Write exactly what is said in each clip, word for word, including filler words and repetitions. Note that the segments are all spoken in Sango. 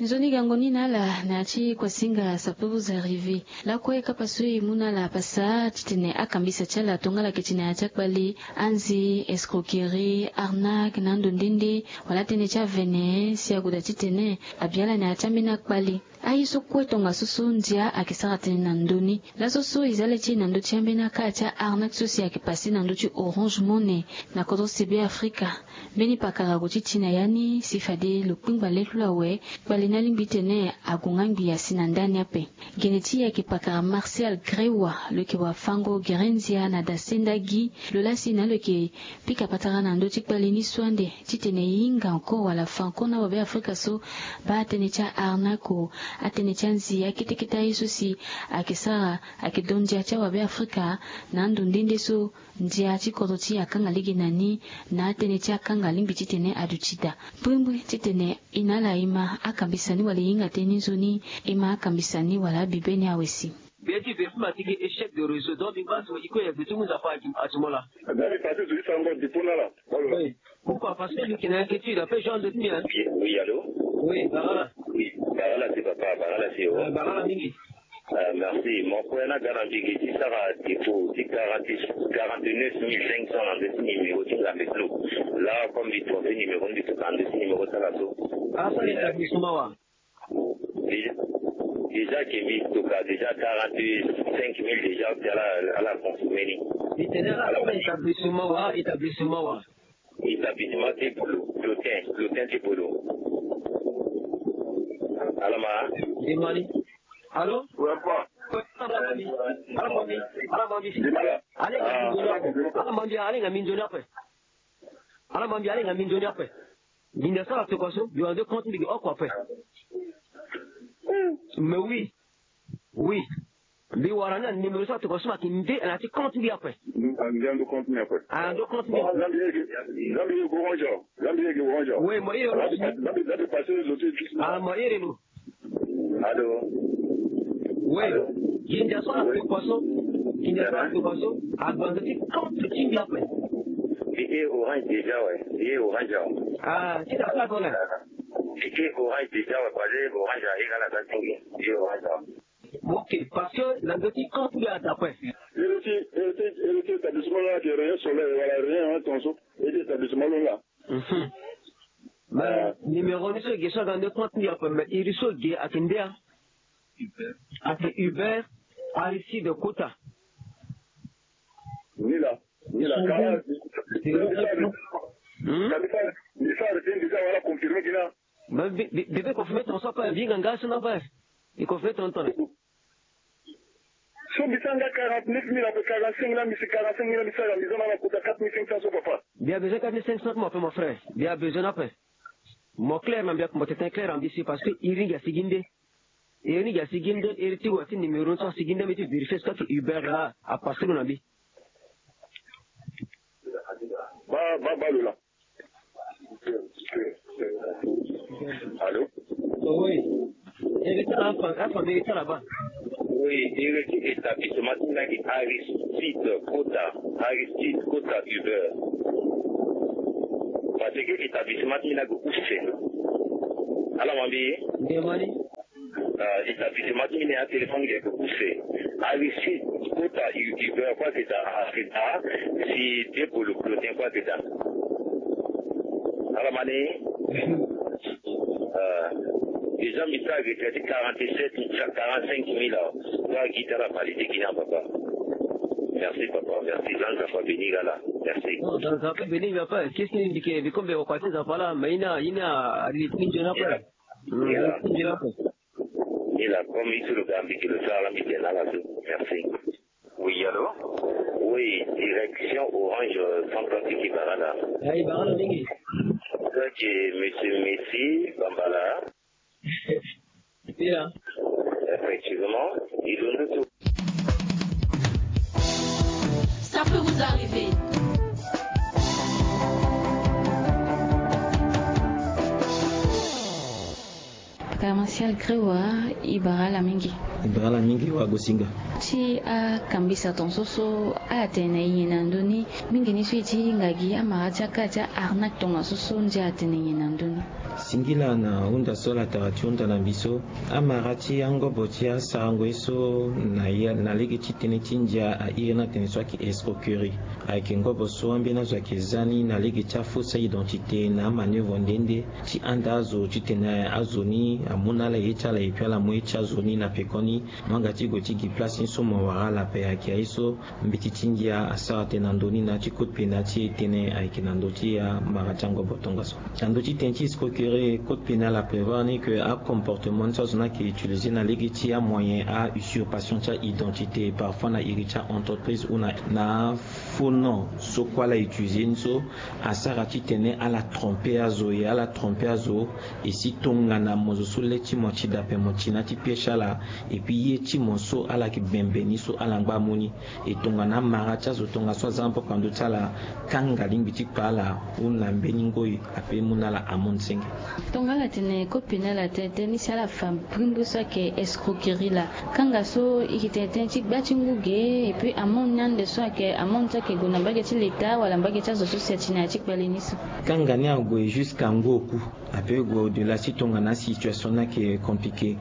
Nzoni gango ni na ala na ya ti Kwasinga, ça peut vous arriver. Lakue kapa so e mu na ala pasa titene akambisa ti ala tongana ayeke ti na ya ti akpali, anzi, escroquerie, arnaque na ando nde nde, wala atënë ti avene si ague daa titene abi ala na ya ti ambeni akpali. Aye so kue tongaso so ndia ayeke sara tënë na ndö ni. Laso so e za le ti e na ndö ti ambeni akara ti a-arnaque so si ayeke pase na ndö ti Orange Money na kodro ti Be Afrika. Mbeni pakara ague ti ti na ya ni si fade lo kpingba le ti lo awe kpali ni alingbi titene ague nga ngbi asi na ndani ape. Gene ti e ayeke pakara Martial Grewa, lo yeke wafango gere ndia na dasenda gi. Lo laa si na lo yeke pika patara na ndö ti kpali ni so ande titene e hinga encore wala fa encore na wabe Afrika so baa atënë ti a-arnaque, atënë ti anzi, akete kete aye so si ayeke sara, ayeke do ndia ti awabe Afrika na ando nde nde so ndia ti kodro ti e akanga lege na ni, na atënë ti akanga alingbi titene aduti daa. Mbrimbri titene e na ala e ma akambisa ni wala e hinga tënë ni nzoni, e ma akambisa ni wala abibe ni awe si. Be ti ve fuma ti gi échec de réseau, donc mbi baa so e kue ya gbe ti mu Nzapa ati mo laa. Nzapa ti zo ti sango dépôt na ala. Oui. Pourquoi? Parce que mbi yeke na inquiétude ape, genre de ti mbi, hein. Oui, allô? Oui, barala. Oui, barala si papa, barala si o. Euh, barala mingi. Euh, merci. Mo kue na ga na mbi ge ti sara dépôt ti quarante, quarante-neuf mille cinq cents na ndö ti numéro ti ngambe ti lo. Là, comme mbi trompé numéro, mbi toka na ndö ti numéro ti ala so. Ah, so établissement wa? Déjà, déjà ke mbi toka déjà quarante-cinq mille déjà ti ala, ala confirmé ni. Mbi tene ala so établissement wa, établissement wa? Établissement ti Polo, Plotin, Plotin ti Polo. Ala ma? Mbi ma ni. Allô? Ala ma mbi, ala ma mbi, ala ma mbi. Ala hinga mbi nzoni ape. Ala ma mbi, ala hinga mbi nzoni ape. Ala ma mbi, ala hinga mbi nzoni ape. Mbi na sara tokua so, mbi wara nde compte mbi ge oko ape. Mais oui. Oui. Mbi wara ni na numéro so atokua so, mbi yeke nde na ya ti compte mbi ape. Ande ande compte mbi ape. Ande compte mbi ape. Nzambi ye ge, Nzambi ye ge Orange. Nzambi ye ge Orange. Oui, mo iri lo. Nzambi, Nzambi, Nzambi pase lo ti. Ah, mo iri lo. Allô? Oui. Allô? Gi ndia so na tokua so. Gi ndia so na tokua so. Agba nda ti compte ti mbi ape. Mbi ye Orange déjà, ouais. Mbi ye Orange, ouais. Ah, ti da so azo na. Mbi ye Orange déjà, ouais. Pase Orange, aye ga na da ti nge. Mbi ye Orange, ouais. Ok, parce que na ndö ti compte mbi ada ape. Iri ti, iri ti, iri ti établissement la ti Rien Soleil, wala Rien, hein, tongaso. Iri ti établissement lo la. Mhm. Mais numéro ni so e ge so aga nde compte ni ape, mais iri so e ge ayeke nde a? Ayeke Hubert Aristide Kota. Ni la, ni la. Hmm? Mbi sara, mbi sara ti mbi sara wala confirmé gi na. Mbi, mbi, mbi, mbi confirmé tongaso ape, mbi hinga nga so na ape. Mbi confirmé tongaso. So mbi sara nga quarante-neuf mille ape, quarante-cinq na mbi si quarante-cinq mille na mbi sara, mbi za na ala kota quatre mille cinq cents so papa. Mbi a besoin quatre mille cinq cents mo ape, mon frère. Mbi a besoin ni ape. Mo clair na mbi ape, mo tene clair na mbi si, parce que iri ni gi asigi nde. Iri ni gi asigi nde, iri ti wa ti numéro ni so asigi nde, mbi ti vérifier so ayeke Hubert la, a passe lo na mbi. Ba, ba, ba lo la. Allô? Oui. Iri ti ala afa, afa mbi iri ti ala baa. Oui, iri ti établissement ti mbi na gi Aristide Kota, Aristide Kota Hubert. Parce que établissement ti mbi na gi use. Ala ma mbi? Nde mani. Ah, établissement ti mbi na ya téléphone ge use. Aristide Kota Hu-, Hubert kue ayeke daa, ayeke daa, si Depolo Clotin kue ayeke daa. Ala ma ni. Ah, déjà mbi sara retrait ti quarante-sept, quarante-cinq mille awa. Kue agi ti ala validé gi na papa. Merci papa, merci. Nzapa béni ala. Merci. Non, Nzapa béni nga ape. Qu'est-ce que mbi ke, mbi kombe wa kua ti Nzapa la, mais ina, ina, ali ti nzoni ape. Yeah. Mm, yeah. Ni la, comme il se le gambi que le sala mi tena la so. Merci. Oui, allô? Oui, direction Orange, euh, Centrafrique, Ibarala. Ah, Ibarala mingi. Ok, monsieur Messi, Bambala. Yeah. Effectivement, il nous tout. Ça peut vous arriver. Papa Martial Grewa, Ibarala mingi. Ibarala mingi wa Gosinga. Ti akambisa tongaso so atene na nyen na ndö ni, mingi ni so e ti hinga gi amara ti akara ti a-arnaque tongaso so ndia atene na nyen na ndö ni. Singila na hunda so ala tara ti hunda na mbi so, amara ti angobo ti asarango ye so na ya, na lege ti tënë ti ndia airi ni atene so ayeke escroquerie. Ayeke ngobo so ambeni azo ayeke za ni na lege ti afausse identité na amanœuvre nde nde ti handa azo titene azo ni amu na ala ye ti ala et puis ala mu ye ti azo ni na peko ni. Mo yanga ti gue ti gi place ni so mo wara ala ape. Ayeke aye so mbeti ti ndia asara tënë na ndö ni na ya ti code pénal ti e tënë ayeke na ndö ti amara ti angobo tongaso. Na ndö ti tënë ti escroquerie, code pénal aprévoir ni ke acomportement ni so azo ni ayeke utiliser na lege ti amoyen a usurpation ti aidentité, parfois na iri ti aentreprise ou na, na faux nom so kue ala utiliser ni so, asara titene ala tromper azo, e ala tromper azo. E si tongana mo zo so le ti mo ti da ape, mo ti na ya ti pie ti ala, et puis ye ti mo so ala yeke bembe ni so ala ngba amu ni. E tongana amara ti azo tongaso aza na poko na ndö ti ala, kanga lingbi ti kpa ala ou na mbeni ngoi ape mu na ala amende senge. Tongana ala tene code pénal atene tënë ni si ala fa bringbi so ayeke escroquerie laa, kanga so e yeke tene tënë ti gba ti ngu ge, et puis amende ni ande so ayeke amende so ayeke gue na mbage ti leta wala mbage ti azo so si ati na ya ti kpale ni so. Kanga ni ague jusqu'à ngu oku, ape gue au-delà si tongana asituation ni ayeke compliqué.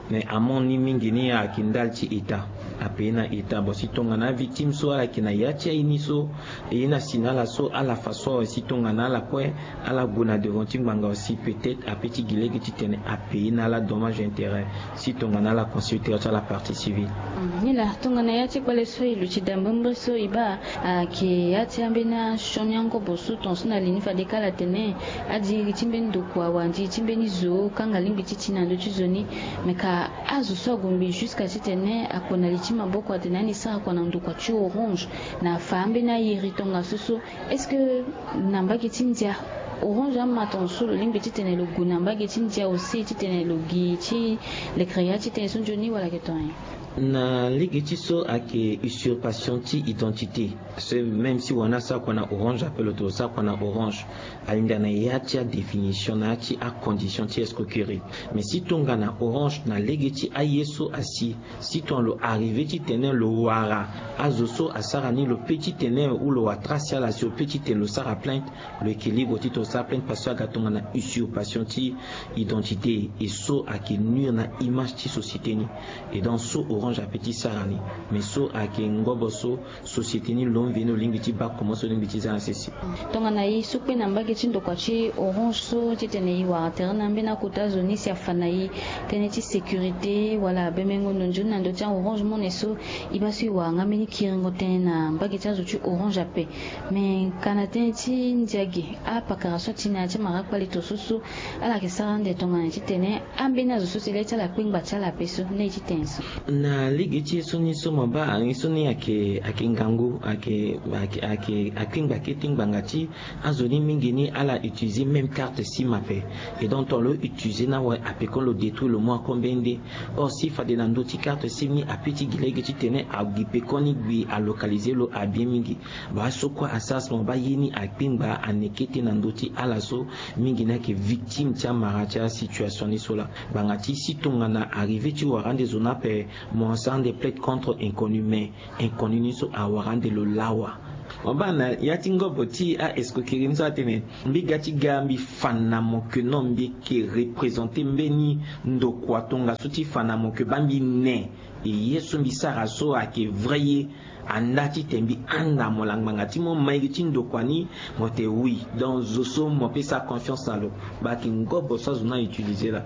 Mais amende ni mingi ni ayeke ndali ti état, apaye na état. Bon, si tongana avictime so ala yeke na ya ti aye ni so, e ye ni asi na ala so ala fa so awe, si tongana ala kue ala gue na devant ti ngbanga aussi, peut-être ape ti gi lege titene apaye na ala dommage intérêt si tongana ala consulter ti ala partie civile. Mm, nilaa tongana ya ti kpale so e luti da mbirimbiri so e baa ayeke ya ti ambeni asioni angobo so tongaso na li ni fade kâ ala tene adiri ti mbeni ndokua wala ndiri ti mbeni zo kanga lingbi ti ti na ndö ti zo ni. Me ka azo so ague mbi jusqu'à titene akua na li ti maboko atene ani sara kua na ndokua ti Orange na afa ambeni ayeri tongaso so. Est-ce que na mbage ti ndia Orange ama tongaso lo lingbi titene lo gue na mbage ti ndia aussi titene lo gi ti lekere ya ti tënë so nzoni wala ayeke tongana nyen? Na lege ti so ayeke usurpation ti identité. So même si wani asara kua na Orange ape lo tene lo sara kua na Orange, alinda na ya ti adéfinition na ya ti acondition ti escroquerie. Mais si tongana Orange na lege ti aye so asi, si tongana lo arrivé titene lo wara azo so asara ni, lo pe titene ou lo wara trace ti ala si lo pe titene lo sara plainte, lo yeke libre titene lo sara plainte parce que aga tongana usurpation ti identité. E so ayeke nuire na image ti société ni. E donc so Orange ape ti sara ni. Mais so ayeke ngobo so société ni lo mveni lo lingbi ti baa comment so lo lingbi ti za na sese. Tongana e so kue na mbage ti ndokua ti Orange so titene e wara tere na ambeni akota zo ni si afa na e tënë ti sécurité wala bemengo ndo nzoni na ndö ti a-Orange Money so, e baa so e wara nga mbeni kiringo tënë na mbage ti azo ti Orange ape. Me ka na tënë ti ndia ge, apakara so ati na ya ti amara kpale to so so ala yeke sara ande tongana titene ambeni azo so si le ti ala akpengba ti ala ape so, na ye ti tene so. Na lege ti ye so ni so mo baa ye so ni ayeke, ayeke ngangu, ayeke, ayeke, ayeke akpengba kete ngbanga ti azo ni mingi ni ala utiliser même carte sim ape. Et donc tongana lo utiliser ni awe ape, comme lo détruire lo mu ako mbeni nde. Or si fade na ndö ti carte sim ni ape ti gi lege titene agi peko ni gbi alocaliser lo abien mingi. Baa so kue asara si mo baa ye ni akpengba ane kete na ndö ti ala so mingi ni ayeke victime ti amara ti asituation ni so laa. Ngbanga ti si tongana arrivé ti wara ande zo ni ape, mo sara ande plainte contre inconnu, mais inconnu ni so awara ande lo lawa. Mo baa na ya ti ngobo ti a-escroquerie ni so atene mbi ga ti ga mbi fa na mo ke non mbi yeke représenter mbeni ndokua tongaso ti fa na mo ke baa mbi ne. E ye so mbi sara so ayeke vrai ye. Anda titene mbi handa mo laa ngbanga ti mo mairi ti ndokua ni, mo tene oui. Donc zo so mo pe sara confiance na lo. Baa ayeke ngobo so azo ni a-utiliser laa.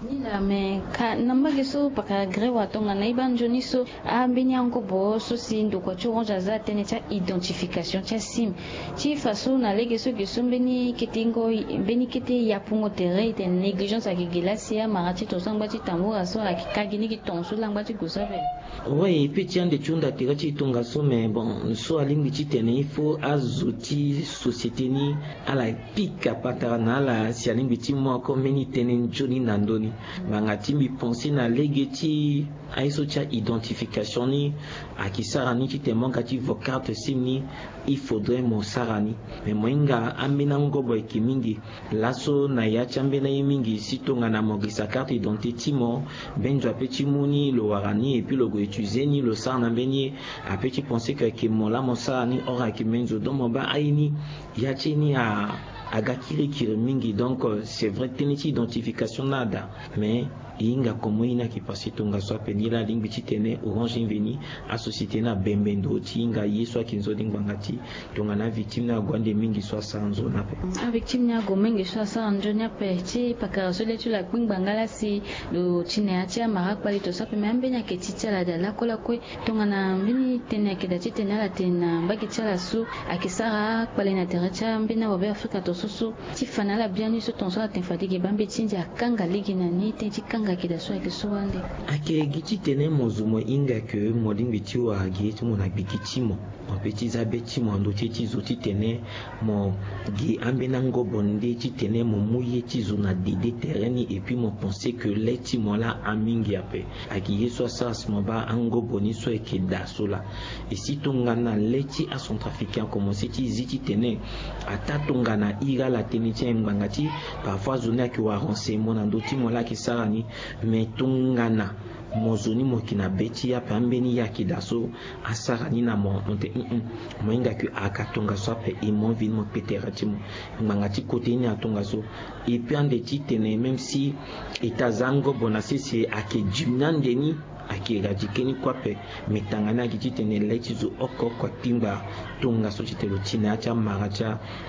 Ni laa me ka na mbage so pakara grève atongana e baa nzoni so ambeni angobo so si ndokua ti Orange aza tënë ti a-identification ti asim. Ti fa so na lege so ge so mbeni kete ngo, mbeni kete yapungo tere e tene négligence ayeke ge laa si amara ti tongaso angba ti tambura so ayeke ka gi ni gi tongaso laa angba ti gue so ape. Ouais, e pe ti ande ti hunda tere ti e tongaso, mais bon so alingbi titene il faut azo ti société ni ala pika patara na ala si alingbi ti mu ako mbeni tënë nzoni na ndö ni. Ngbanga ti mbi pense na lege ti aye so ti a-identification ni ayeke sara ni titene mo ga ti vo carte sim ni, il faudrait mo sara ni. Mais mo hinga ambeni angobo ayeke mingi. Laso na ya ti ambeni aye mingi si tongana mo girisa carte d'identité ti mo, mbeni zo ape ti mu ni lo wara ni et puis lo gue utiliser ni lo sara na mbeni ye. Ape ti pense ke ayeke mo laa mo sara ni, or ayeke mbeni zo. Donc mo baa aye ni, ya ti e ni a aga kirikiri mingi. Donc c'est vrai tënë ti identification ni ada, mais e hinga comment e ni ayeke passé tongaso ape. Ni laa alingbi titene Orange ni veni, asociété ni abembe ndo ti hinga ye so ayeke nzoni ngbanga ti tongana avictime ni ague ande mingi so asara nzoni ape. Avictime ni ague mingi so asara nzoni ape ti pakara so le ti lo akpingba nga laa si lo ti na ya ti amara akpali tongaso ape, me ambeni ayeke ti ti ala daa lakue lakue. Tongana mbeni tënë ayeke daa titene ala tene na mbage ti ala so ayeke sara akpale na tere ti ambeni awabe afrika tongaso so ti fa na ala biani so tongaso ala tene fade ge baa mbeti ti ndia akanga lege na ni tënë ti kanga ayeke daa so ayeke so wande. Ayeke gi titene mo zo mo hinga ke mo lingbi ti wara ge ti mo na gbigi ti mo, mo pe ti za be ti mo na ndö ti e ti zo titene mo gi ambeni angobo nde titene mo mu ye ti zo na dede tere ni, et puis mo pense ke le ti mo laa amingi ape. Ayeke ye so asara si mo baa angobo ni so ayeke daa so laa. E si tongana le ti acentrafricain akomense ti zi titene ataa tongana iri ala tënë ti aye ngbanga ti parfois azo ni ayeke wara renseignement na ndö ti mo laa ayeke sara ni. Me tongana mo zo ni mo yeke na be ti e ape, ambeni ye ayeke daa so asara ni na mo, mo te, mm, mo hinga ke ayeke tongaso ape, e mo vini mo kpe tere ti mo ngbanga ti kote ni atongaso. Et puis ande titene même si e ta za ngobo na sese ayeke dimi ni ande ni, ayeke éradiquer ni kue ape. Me tanga ni ayeke titene le ti zo oko oko akpingba tongaso titene lo ti na ya ti amara ti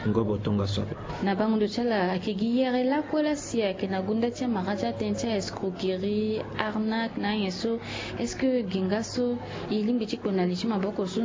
angobo tongaso ape. Na bango ndo ti ala ayeke gi yere lakue laa si ayeke na gunda ti amara ti atënë ti aescroquerie, arnaque na anyen so. Est-ce que gi nga so e lingbi ti kpo na li ti maboko so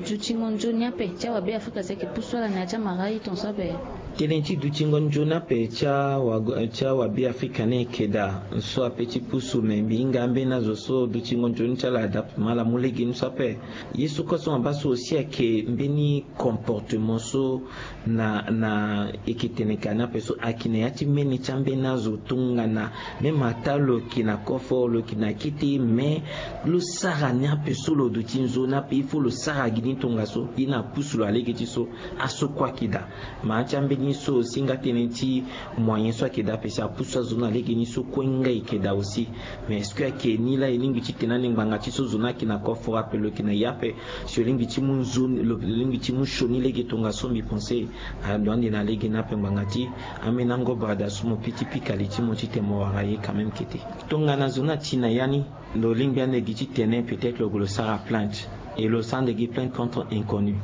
dutingo nzoni ape ti awabe afrika so ayeke pusu ala na ya ti amara ye tongaso ape? Tënë ti dutingo nzoni ape ti awa, ti awabe afrika ni ayeke daa so ape ti pusu, me mbi hinga ambeni azo so dutingo nzoni ti ala ada ape, me ala mu lege ni so ape. Ye so kue so mo baa so aussi ayeke mbeni comportement so na, na e yeke tene ka ni ape so ayeke na ya ti mene ti ambeni azo tongana même ataa lo yeke na kofo, lo yeke na kete, me lo sara ni ape so lo duti nzoni ape, il faut lo sara gi ni tongaso. Ye ni apusu lo na lege ti so, aso kue ayeke daa. Ma ya ti ambeni so aussi nga tënë ti moyen so ayeke daa ape si apusu azo na lege ni so kue nga e yeke daa aussi. Mais est-ce que ayeke ni laa e lingbi titene ande ngbanga ti so zo ni ayeke na kofo ape, lo yeke na ye ape, si lo lingbi ti mu nzoni, lo lingbi ti mu sioni lege tongaso, mbi pense alo ande na lege ni ape ngbanga ti ambeni angobo ada so mo pe ti pika li ti mo titene mo wara ye quand même kete. Tongana zo ni ati na ya ni, lo lingbi ande gi titene peut-être lo gue lo sara plainte. E lo sara ande gi plainte contre inconnu.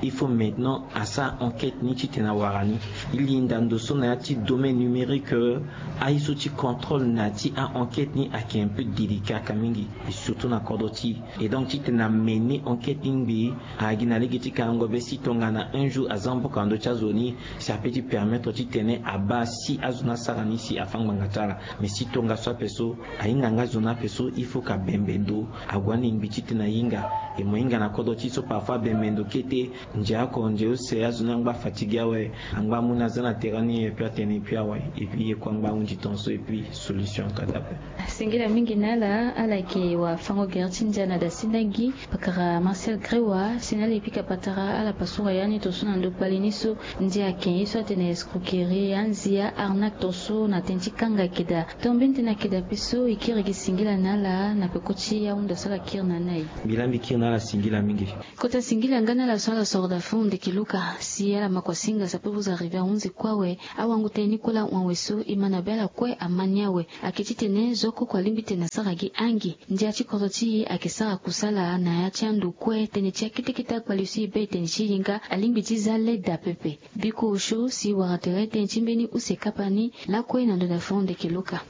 Il faut maintenant asara enquête ni titene awara ni. E linda ndo so na ya ti domaine numérique, euh, aye so ti contrôle na ya ti a-enquête ni ayeke un peu délicat ka mingi, et surtout na kodro ti e. Et donc titene amener enquête ni ngbii, agi na lege ti kangango be si tongana un jour aza mboka na ndö ti azo ni, si ape ti permettre titene abaa si azo ni asara ni si afâ ngbanga ti ala. Mais si tongaso ape so, ahinga nga zo ni ape so, il faut ka bembe ndo ague ande ngbii titene ahinga. E mo hinga na kodro ti so parfois bembe ndo kete, ndia oko ndia use azo ni angba fatigué awe, angba amu ni aza na terrain ni, et puis atene et puis awe, et puis ye kue angba ahunzi tongaso, et puis solution ka daa ape. Singila mingi na ala, ala yeke wafango gere ti ndia na dasindangi, pakara Marcel Grewa, si na ala e pika patara ala pasura ya ni tongaso na ndo kpali ni so, ndia ake ye so atene escroquerie, anzia, arnaque tongaso na tënë ti kanga ayeke daa. Tongana mbeni tënë ayeke daa ape so, e kiri gi singila na ala na peko ti ahunda so ala kiri na ni aye. Mbi laa mbi kiri na ala singila mingi. Kota singila nga na ala so ala soro daa fo ndeke luka, si ala makua singa ça peut vous arriver ahunzi kue awe, awango tënë ni kue laa hon awe so, e ma na be ala kue ama ni awe. Ayeke titene zo oko oko alingbi tene asara gi angi. Ndia ti kodro ti e ayeke sara kusala na ya ti ando kue, tënë ti akete kete akpali so e be e tene ti e nga alingbi ti za leda pepe. Biko osio si e wara tere tënë ti mbeni use kapa ni lakue na ndo na fo ndeke luka.